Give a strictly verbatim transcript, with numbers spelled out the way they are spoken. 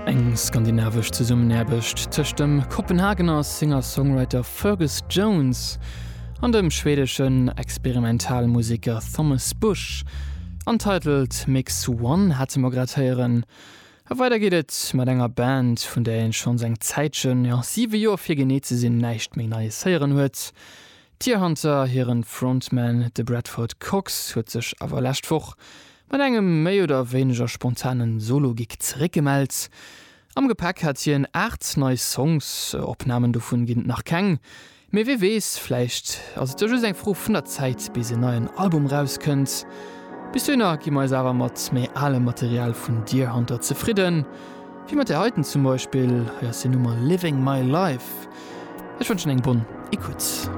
Eng skandinavesch Zesummenaarbecht tëscht dem Kopenhagener Singer-Songwriter Fergus Jones an dem schwedeschen Experimentalmuseker Thomas Busch. Untitled Mix One hate mer grad héieren. A weider geet et mat enger Band, vun där een schonns eng Zäitchen, jo siwe Joer fir genee ze sinn, näischt méi Neies héieren huet. Deerhunter hiren Frontman, de Bradford Cox, huet sech awer lescht Woch mat engem méi oder wéineger spontanen Solo-Gig zeréckgemellt. Am Gepäck hat hien aacht nei Songs, Opnamen dovun ginn et nach keng. Mee wie weess, vläicht ass et jo just eng Fro vun der Zäit, bis en neien Album rauskënnt. Bis dohinner gi mer eis awer mat méi alem Material vun Deerhunter zefridden, wéi mat där heiten zum Beispill. Hei ass hir Nummer Living My Life. Ech wënschen eng bonne Écoute.